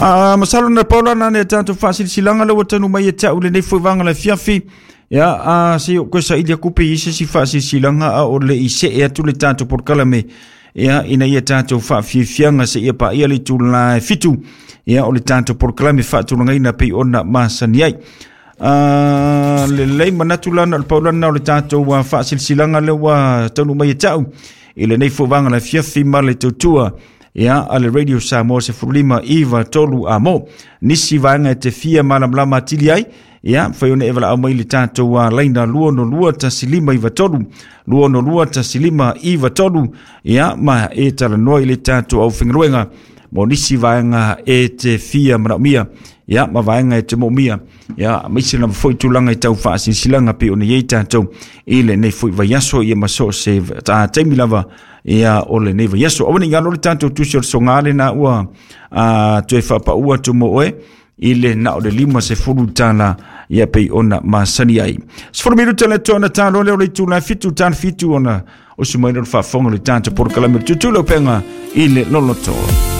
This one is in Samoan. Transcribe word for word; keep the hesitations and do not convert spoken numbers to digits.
A masalo na paula na ne tatou faasilasilaga le ua tanu mai e te au lenei foi vaga le afiafi. Ia a se o koe saili aku pe i se isi faasilasilaga a o le i see atu le tatou polokalame, ia ina ia tatou faafiafiaga seia paia le itula e fitu, ia o le tatou polokalame faatulagaina pei ona masani ai. Uh, lelei manatu lana o le paulana o le tatou uh, faasilasilaga le ua taunuu mai e te au i lenei foi vaga le afiafi ma le tautua ia a le Radio Samoa sefululima iva tolu amo. Nisi vaega e te fia malamalama atili ai, ia fai ona e valaau mai le tatou uh, laina lua ono lua tasi lima iva tolu, lua ono lua tasi lima iva tolu, ia ma e talanoa i le tatou aufaigaluega mo nisi vaega e te fia manaomia, ia ma vaega e te moomia, ia maise lava foi tulaga i tau faasilasilaga pei ona iai tatou i lenei foi vaiaso, ia ma so o se ta taimi lava ia o lenei vaiaso. Aua ne i galo le tatou tusi o le soga lena ua a, toe faapaua atu mo oe i le na o le lima se fulu tala ia pei ona masani ai. Sefulu minuta le toa na talo leo le itula fitu tala fitu ona o sumaina le faafofoga le tatou polokalame o le Tutula Upega i le Loloto.